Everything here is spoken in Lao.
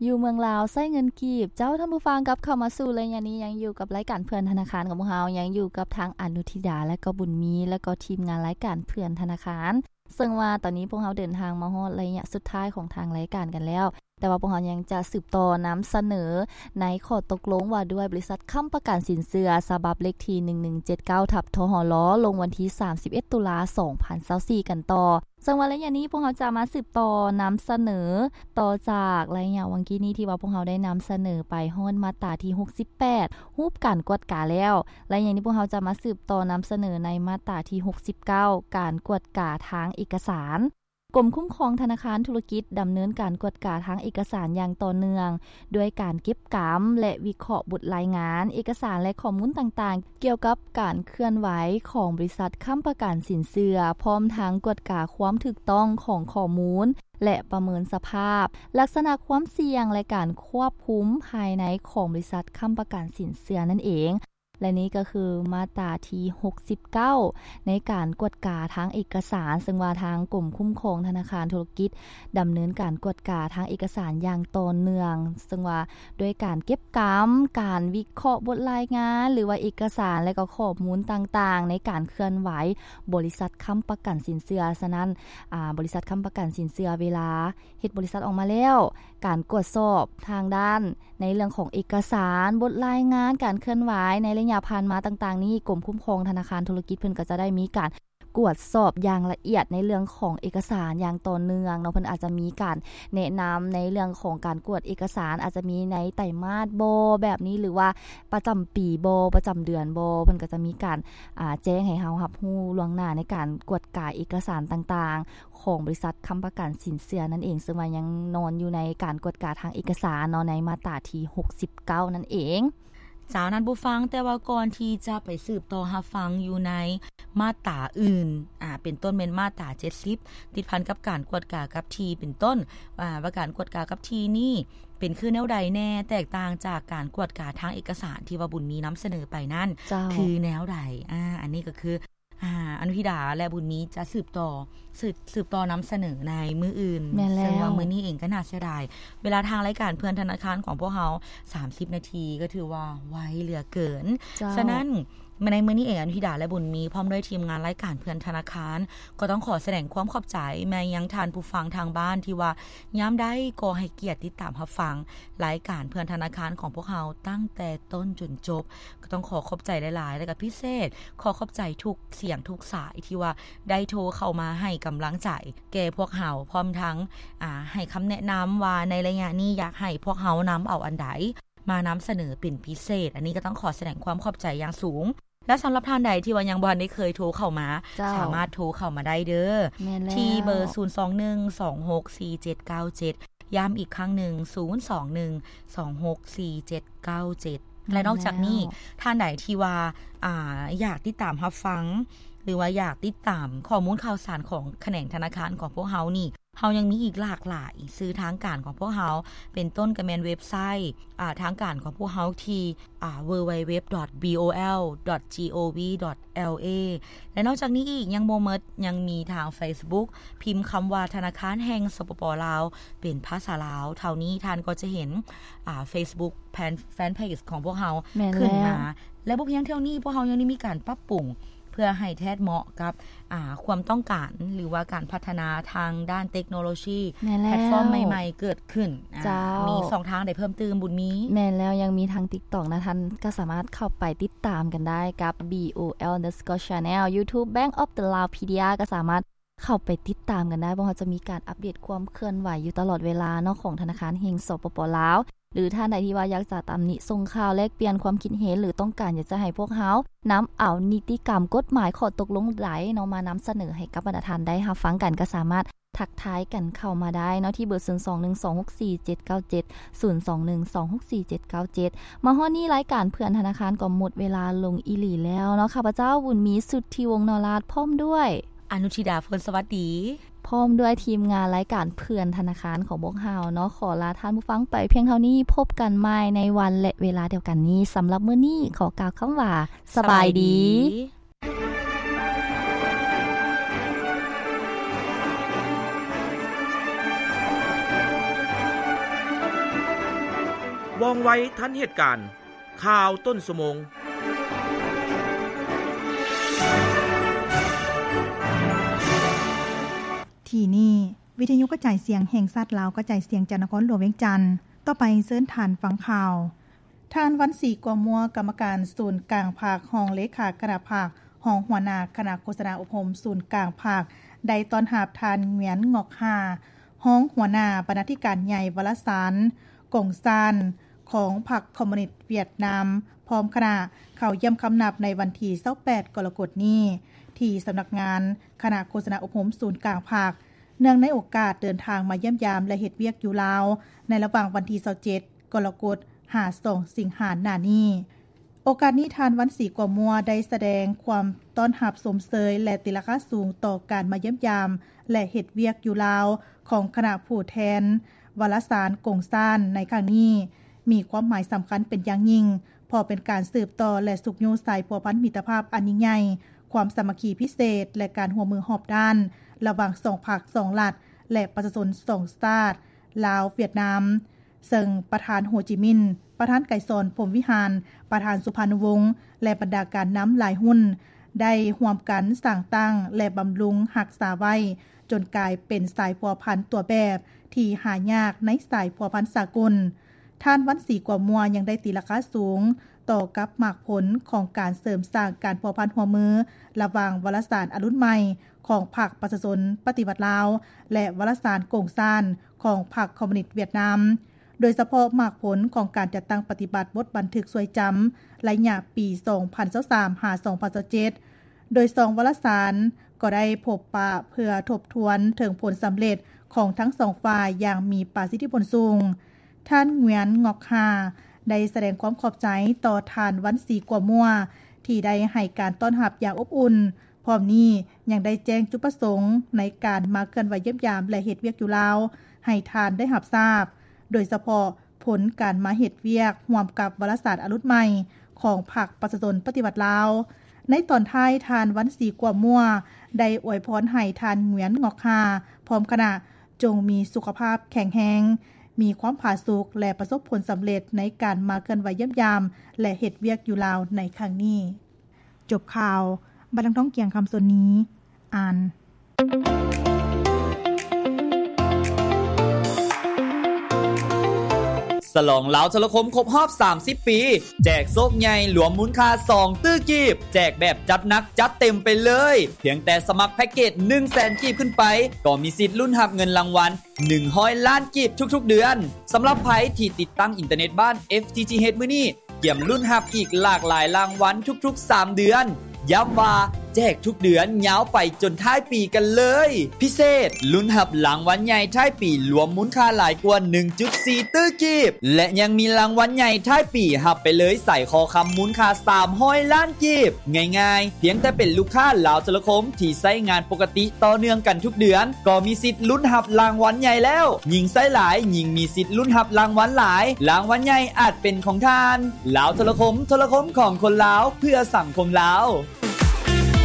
ຢູ່ເມືອງລາວໃຊ້ເງິນກີບ. ເຈົ້າ ທ່ານຜູ້ຟັງ ກັບເຂົ້າມາສູ່ໄລຍະນີ້ ຍັງຢູ່ກັບລາຍການເພື່ອນທະນາຄານຂອງພວກເຮົາ, ຍັງຢູ່ກັບທັງອະນຸທິດາ ແລະ ກໍບຸນມີ ແລະ ກໍທີມງານລາຍການເພື່ອນທະນາຄານ. ເຊິ່ງວ່າຕອນນີ້ພວກເຮົາເດີນທາງມາຮອດໄລຍະສຸດທ້າຍຂອງທາງລາຍການກັນແລ້ວ, ແຕ່ວ່າພວກເຮົາຍັງຈະສືບຕໍ່ນຳສະເໜີໃນຂໍ້ຕົກລົງວ່າດ້ວຍບໍລິສັດຄ້ຳປະກັນສິນເຊື່ອ ສະບັບເລກທີ ໜຶ່ງໜຶ່ງເຈັດເກົ້າ ທັບ ທຫລ ລົງວັນທີ ສາມສິບເອັດ ຕຸລາ ສອງພັນຊາວສີ່ ກັນຕໍ່. ເຊິ່ງວ່າໄລຍະນີ້ພວກເຮົາຈະມາສືບຕໍ່ນຳສະເໜີຕໍ່ຈາກໄລຍະຫວ່າງກີ້ນີ້ ທີ່ວ່າພວກເຮົາໄດ້ນຳສະເໜີໄປຮອດມາດຕາທີ ຫົກສິບແປດ ຮູບການກວດກາແລ້ວ. ໄລຍະນີ້ພວກເຮົາຈະມາສືບຕໍ່ນຳສະເໜີໃນມາດຕາທີ ຫົກສິບເກົ້າ ການກວດກາທາງເອກະສານ. ກົມຄຸ້ມຄອງທະນາຄານທຸລະກິດດຳເນີນການກວດກາທາງເອກະສານຢ່າງຕໍ່ເນື່ອງ ດ້ວຍການເກັບກຳ ແລະ ວິເຄາະບົດລາຍງານ, ເອກະສານ ແລະ ຂໍ້ມູນຕ່າງໆ ກ່ຽວກັບການເຄື່ອນໄຫວຂອງບໍລິສັດຄ້ຳປະກັນສິນເຊື່ອ, ພ້ອມທັງກວດກາຄວາມຖືກຕ້ອງຂອງຂໍ້ມູນ ແລະ ປະເມີນສະພາບ, ລັກສະນະຄວາມສ່ຽງ ແລະ ການຄວບຄຸມພາຍໃນຂອງບໍລິສັດຄ້ຳປະກັນສິນເຊື່ອນັ້ນເອງ. ແລະ ນີ້ກໍຄືມາດຕາທີ ຫົກສິບເກົ້າ ໃນການກວດກາທາງເອກະສານ, ເຊິ່ງວ່າທາງກົມຄຸ້ມຄອງທະນາຄານທຸລະກິດ ດຳເນີນການກວດກາທາງເອກະສານຢ່າງຕໍ່ເນື່ອງ, ເຊິ່ງວ່າດ້ວຍການເກັບກຳ, ການວິເຄາະບົດລາຍງານ ຫຼືວ່າເອກະສານ ແລະ ກໍຂໍ້ມູນຕ່າງໆ ໃນການເຄື່ອນໄຫວບໍລິສັດຄ້ຳປະກັນສິນເຊື່ອ. ສະນັ້ນ, ອາ, ບໍລິສັດຄ້ຳປະກັນສິນເຊື່ອ ເວລາເຮັດບໍລິສັດອອກມາແລ້ວ, ການກວດສອບທາງດ້ານໃນເລື່ອງຂອງເອກະສານ, ບົດລາຍງານ, ການເຄື່ອນໄຫວໃນໄລຍະຜ່ານມາຕ່າງໆນີ້, ກົມຄຸ້ມຄອງທະນາຄານທຸລະກິດເພິ່ນກໍຈະໄດ້ມີການ ກວດສອບຢ່າງລະອຽດໃນເລື່ອງຂອງເອກະສານຢ່າງຕໍ່ເນື່ອງເນາະ. ເພິ່ນອາດຈະມີການແນະນຳໃນເລື່ອງຂອງການກວດເອກະສານ, ອາດຈະມີໃນໄຕມາດບໍ ແບບນີ້ ຫຼືວ່າປະຈຳປີບໍ ປະຈຳເດືອນບໍ, ເພິ່ນກໍຈະມີການ ອາ ແຈ້ງໃຫ້ເຮົາຮັບຮູ້ລ່ວງໜ້າໃນການກວດກາເອກະສານຕ່າງໆ ຂອງບໍລິສັດຄ້ຳປະກັນສິນເຊື່ອນັ້ນເອງ, ເຊິ່ງວ່າຍັງນອນຢູ່ໃນການກວດກາທາງເອກະສານເນາະ ໃນມາດຕາທີ ຫົກສິບເກົ້າ ນັ້ນເອງ. ເຈົ້າ ທ່ານຜູ້ຟັງ, ແຕ່ວ່າກ່ອນທີ່ຈະໄປສືບຕໍ່ຮັບຟັງຢູ່ໃນມາດຕາອື່ນ, ອາ, ເປັນຕົ້ນແມ່ນມາດຕາ ເຈັດສິບ ຕິດພັນກັບການກວດກາກັບທີ່ ເປັນຕົ້ນ, ອາ, ວ່າການກວດກາກັບທີ່ນີ້ເປັນຄືແນວໃດແດ່, ແຕກຕ່າງຈາກການກວດກາທາງເອກະສານທີ່ວ່າບຸນມີນຳສະເໜີໄປນັ້ນ ເຈົ້າ ຄືແນວໃດ? ອາ, ອັນນີ້ກໍຄື ອາ, ອະນຸທິດາ ແລະ ບຸນມີຈະສືບຕໍ່, ສືບ, ສືບຕໍ່ນຳສະເໜີໃນມື້ອື່ນ. ແມ່ນແລ້ວ. ເຊິ່ງວ່າມື້ນີ້ເອງກໍໜ້າເສຍດາຍ ເວລາທາງລາຍການເພື່ອນທະນາຄານຂອງພວກເຮົາ ສາມສິບນາທີ ກໍຖືວ່າໄວເຫຼືອເກີນ. ເຈົ້າ. ສະນັ້ນ, ໃນມື້ນີ້ເອງ ອະນຸທິດາ ແລະ ບຸນມີ ພ້ອມດ້ວຍທີມງານລາຍການເພື່ອນທະນາຄານ ກໍຕ້ອງຂໍສະແດງຄວາມຂອບໃຈມາຍັງທ່ານຜູ້ຟັງທາງບ້ານ ທີ່ວ່າຍາມໃດກໍໃຫ້ກຽດຕິດຕາມຮັບຟັງລາຍການເພື່ອນທະນາຄານຂອງພວກເຮົາຕັ້ງແຕ່ຕົ້ນຈົນຈົບ. ກໍຕ້ອງຂໍຂອບໃຈຫຼາຍໆ ແລະ ກໍພິເສດ ຂໍຂອບໃຈທຸກສຽງທຸກສາຍທີ່ວ່າໄດ້ໂທເຂົ້າມາໃຫ້ກຳລັງໃຈແກ່ພວກເຮົາ, ພ້ອມທັງ, ອາ, ໃຫ້ຄຳແນະນຳວ່າໃນໄລຍະນີ້ຢາກໃຫ້ພວກເຮົານຳເອົາອັນໃດມານຳສະເໜີເປັນພິເສດ. ອັນນີ້ກໍຕ້ອງຂໍສະແດງຄວາມຂອບໃຈຢ່າງສູງ. ແລະ ສຳລັບທ່ານໃດທີ່ວ່າຍັງບໍ່ທັນໄດ້ເຄີຍໂທເຂົ້າມາ, ເຈົ້າ ສາມາດໂທເຂົ້າມາໄດ້ເດີ້. ແມ່ນແລ້ວ. ທີ່ເບີ ສູນສອງໜຶ່ງ ສອງຫົກ ສີ່ເຈັດເກົ້າເຈັດ ຢ້ຳອີກຄັ້ງໜຶ່ງ ສູນສອງໜຶ່ງ ສອງຫົກ ສີ່ເຈັດເກົ້າເຈັດ. ແລະ ນອກຈາກນີ້, ແມ່ນແລ້ວ ທ່ານໃດທີ່ວ່າ, ອາ, ຢາກຕິດຕາມຮັບຟັງ ຫຼືວ່າຢາກຕິດຕາມຂໍ້ມູນຂ່າວສານຂອງຂະແໜງທະນາຄານຂອງພວກເຮົານີ້, ເຮົາຍັງມີອີກຫຼາກຫຼາຍສື່ທາງການຂອງພວກເຮົາ, ເປັນຕົ້ນກໍແມ່ນເວັບໄຊ, ອາ, ທາງການຂອງພວກເຮົາທີ່, ອາ, ເວີເວັບ ດອດ ບີໂອແອລ ດອດ ຈີໂອວີ ດອດ ແອລເອ ແລະ ນອກຈາກນີ້ອີກຍັງບໍ່ໝົດ, ຍັງມີທາງເຟສບຸກ, ພິມຄຳວ່າທະນາຄານແຫ່ງ ສປປ ລາວ ເປັນພາສາລາວ. ເທົ່ານີ້ທ່ານກໍຈະເຫັນ, ອາ, ເຟສບຸກ ແຟນ, ແຟນເພຈຂອງພວກເຮົາ ແມ່ນແລ້ວ ຂຶ້ນມາ. ແລະ ບໍ່ພຽງເທົ່ານີ້, ພວກເຮົາຍັງໄດ້ມີການປັບປຸງ ເພື່ອໃຫ້ແທດເໝາະກັບ, ອາ, ຄວາມຕ້ອງການ ຫຼືວ່າການພັດທະນາທາງດ້ານເຕັກໂນໂລຊີ ແມ່ນແລ້ວ ແພລດຟອມໃໝ່ໆເກີດຂຶ້ນ. ອາ, ເຈົ້າ ມີຊ່ອງທາງໃດເພີ່ມຕື່ມ, ບຸນມີ? ແມ່ນແລ້ວ, ຍັງມີທາງ TikTok ນະ, ທ່ານກໍສາມາດເຂົ້າໄປຕິດຕາມກັນໄດ້ກັບ ບີໂອແອລ ອັນເດີສະກໍ ແຊນແນລ, YouTube Bank of the Laopedia ກໍສາມາດເຂົ້າໄປຕິດຕາມກັນໄດ້. ພວກເຮົາຈະມີການອັບເດດຄວາມເຄື່ອນໄຫວຢູ່ຕະຫຼອດເວລາເນາະ ຂອງທະນາຄານແຫ່ງ ສປປ ລາວ. ຫຼື ທ່ານໃດທີ່ວ່າຢາກຈະຕຳໜິ ສົ່ງຂ່າວ ແລກປ່ຽນຄວາມຄິດເຫັນ ຫຼື ຕ້ອງການຢາກຈະໃຫ້ພວກເຮົານຳເອົານິຕິກຳ ກົດໝາຍ ຂໍ້ຕົກລົງໃດເນາະ ມານຳສະເໜີໃຫ້ກັບບັນດາທ່ານໄດ້ຮັບຟັງກັນ ກໍສາມາດທັກທາຍກັນເຂົ້າມາໄດ້ເນາະ ທີ່ເບີ ສູນສອງໜຶ່ງ ສອງຫົກສີ່ເຈັດເກົ້າເຈັດ ສູນສອງໜຶ່ງ ສອງຫົກສີ່ເຈັດເກົ້າເຈັດ. ມາຮອດນີ້ລາຍການເພື່ອນທະນາຄານກໍໝົດເວລາລົງອີ່ຫຼີແລ້ວເນາະ. ຂ້າພະເຈົ້າ ບຸນມີ ສຸດທິວົງ ນໍລາດ ພ້ອມດ້ວຍ ອະນຸທິດາ ເພິ່ນສະຫວັດດີ ພ້ອມດ້ວຍທີມງານລາຍການເພື່ອນທະນາຄານຂອງພວກເຮົາເນາະ ຂໍລາທ່ານຜູ້ຟັງໄປພຽງເທົ່ານີ້. ພົບກັນໃໝ່ໃນວັນ ແລະ ເວລາດຽວກັນນີ້. ສຳລັບມື້ນີ້ ຂໍກ່າວຄຳວ່າ ສະບາຍດີ. ສະບາຍດີ. ວ່ອງໄວທັນເຫດການ. ຂ່າວຕົ້ນຊົ່ວໂມງ. ທີ່ນີ້ ວິທະຍຸກະຈາຍສຽງແຫ່ງຊາດລາວ ກະຈາຍສຽງຈາກນະຄອນຫຼວງວຽງຈັນ. ຕໍ່ໄປເຊີນທ່ານຟັງຂ່າວ. ທ່ານ ວັນສີ ກົວມົວ ກຳມະການສູນກາງພັກ, ຮອງເລຂາຄະນະພັກ, ຮອງຫົວໜ້າຄະນະໂຄສະນາອົບຮົມສູນກາງພັກ ໄດ້ຕ້ອນຮັບທ່ານ ຫງວຽນ ງອກຮາ ຮອງຫົວໜ້າບັນນາທິການໃຫຍ່ວາລະສານກົງຊານຂອງພັກຄອມມູນິດຫວຽດນາມ ພ້ອມຄະນະ ເຂົ້າຢ້ຽມຄຳນັບໃນວັນທີຊາວແປດ ກໍລະກົດນີ້ ທີ່ສຳນັກງານຄະນະໂຄສະນາອົບຮົມສູນກາງພັກ ເນື່ອງໃນໂອກາດເດີນທາງມາຢ້ຽມຢາມ ແລະ ເຮັດວຽກຢູ່ລາວ ໃນລະຫວ່າງວັນທີຊາວເຈັດ ກໍລະກົດ ຫາ ສອງ ສິງຫາ ໜ້ານີ້. ໂອກາດນີ້ ທ່ານ ວັນສີ ກົວມົວ ໄດ້ສະແດງຄວາມຕ້ອນຮັບຊົມເຊີຍ ແລະ ຕີລາຄາສູງຕໍ່ການມາຢ້ຽມຢາມ ແລະ ເຮັດວຽກຢູ່ລາວຂອງຄະນະຜູ້ແທນວາລະສານກົງຊານໃນຄັ້ງນີ້ ມີຄວາມໝາຍສຳຄັນເປັນຢ່າງຍິ່ງ ເພາະເປັນການສືບຕໍ່ ແລະ ຊຸກຍູ້ສາຍພົວພັນມິດຕະພາບອັນຍິ່ງໃຫຍ່, ຄວາມສາມັກຄີພິເສດ ແລະ ການຮ່ວມມືຮອບດ້ານ ລະຫວ່າງສອງພັກສອງລັດ ແລະ ປະຊາຊົນສອງຊາດ ລາວ-ຫວຽດນາມ. ເຊິ່ງປະທານ ໂຮຈິມິນ, ປະທານ ໄກສອນ ພົມວິຫານ, ປະທານ ສຸພານຸວົງ ແລະ ບັນດາການນຳຫຼາຍຮຸ່ນ ໄດ້ຮ່ວມກັນສ້າງຕັ້ງ ແລະ ບຳລຸງຮັກສາໄວ້ ຈົນກາຍເປັນສາຍພົວພັນຕົວແບບທີ່ຫາຍາກໃນສາຍພົວພັນສາກົນ. ທ່ານ ວັນສີ ກົວມົວ ຍັງໄດ້ຕີລາຄາສູງຕໍ່ກັບໝາກຜົນຂອງການເສີມສ້າງການພົວພັນຮ່ວມມື ລະຫວ່າງວາລະສານອະລຸນໃໝ່ຂອງພັກປະຊາຊົນປະຕິວັດລາວ ແລະ ວາລະສານກົງຊານຂອງພັກຄອມມູນິດຫວຽດນາມ. ໂດຍສະເພາະໝາກຜົນຂອງການຈັດຕັ້ງປະຕິບັດບົດບັນທຶກຊ່ວຍຈຳໄລຍະປີສອງພັນຊາວສາມ ຫາ ສອງພັນຊາວເຈັດ ໂດຍສອງວາລະສານກໍໄດ້ພົບປະເພື່ອທົບທວນເຖິງຜົນສຳເລັດຂອງທັງສອງຝ່າຍຢ່າງມີປະສິດທິຜົນສູງ. ທ່ານ ຫງວຽນ ງອກຮາ ໄດ້ສະແດງຄວາມຂອບໃຈຕໍ່ທ່ານ ວັນສີ ກົວມົວ ທີ່ໄດ້ໃຫ້ການຕ້ອນຮັບຢ່າງອົບອຸ່ນ. ພ້ອມນີ້ຍັງໄດ້ແຈ້ງຈຸດປະສົງໃນການມາເຄື່ອນໄຫວຢ້ຽມຢາມ ແລະ ເຮັດວຽກຢູ່ລາວໃຫ້ທ່ານໄດ້ຮັບຊາບ, ໂດຍສະເພາະຜົນການມາເຮັດວຽກຮ່ວມກັບວາລະສານອະລຸນໃໝ່ຂອງພັກປະຊາຊົນປະຕິວັດລາວ. ໃນຕອນທ້າຍ, ທ່ານ ວັນສີ ກົວມົວ ໄດ້ອວຍພອນໃຫ້ທ່ານ ຫງວຽນ ງອກຮາ ພ້ອມຄະນະ ຈົ່ງມີສຸຂະພາບແຂງແຮງ, ມີຄວາມຜາສຸກ ແລະ ປະສົບຜົນສຳເລັດໃນການມາເຄື່ອນໄຫວຢ້ຽມຢາມ ແລະ ເຮັດວຽກຢູ່ລາວໃນຄັ້ງນີ້. ຈົບຂ່າວ, ບັດນາງທອງກຽງ ຄຳສົນນີ ອ່ານ. ສະຫຼອງລາວໂທລະຄົມຄົບຮອບສາມສິບປີ ແຈກໂຊກໃຫຍ່ລວມມູນຄ່າສອງຕື້ກີບ, ແຈກແບບຈັດໜັກຈັດເຕັມໄປເລີຍ. ພຽງແຕ່ສະໝັກແພັກເກດໜຶ່ງແສນກີບຂຶ້ນໄປ ກໍມີສິດລຸ້ນຮັບເງິນລາງວັນ ໜຶ່ງຮ້ອຍລ້ານກີບທຸກໆເດືອນ. ສຳລັບໃຜທີ່ຕິດຕັ້ງອິນເຕີເນັດບ້ານ ເອັຟທີທີເອັດ ມື້ນີ້ ກຽມລຸ້ນຮັບອີກຫຼາກຫຼາຍລາງວັນທຸກໆສາມເດືອນ. ຢ້ຳວ່າແຈກທຸກເດືອນຍາວໄປຈົນທ້າຍປີກັນເລີຍ. ພິເສດ, ລຸ້ນຮັບລາງວັນໃຫຍ່ທ້າຍປີລວມມູນຄ່າຫຼາຍກວ່າໜຶ່ງຈຸດສີ່ຕື້ກີບ ແລະ ຍັງມີລາງວັນໃຫຍ່ທ້າຍປີຮັບໄປເລີຍສາຍຄໍຄຳມູນຄ່າສາມຮ້ອຍລ້ານ ກີບ. ງ່າຍໆ, ພຽງແຕ່ເປັນລູກຄ້າລາວໂທລະຄົມທີ່ໃຊ້ງານປົກກະຕິຕໍ່ເນື່ອງກັນທຸກເດືອນ ກໍມີສິດລຸ້ນຮັບລາງວັນໃຫຍ່ແລ້ວ. ຍິ່ງໃຊ້ຫຼາຍ, ຍິ່ງມີສິດລຸ້ນຮັບລາງວັນຫຼາຍ. ລາງວັນໃຫຍ່ອາດເປັນຂອງທ່ານ. ລາວໂທລະຄົມ, ໂທລະຄົມຂອງຄົນລາວ, ເພື່ອສັງຄົມລາວ.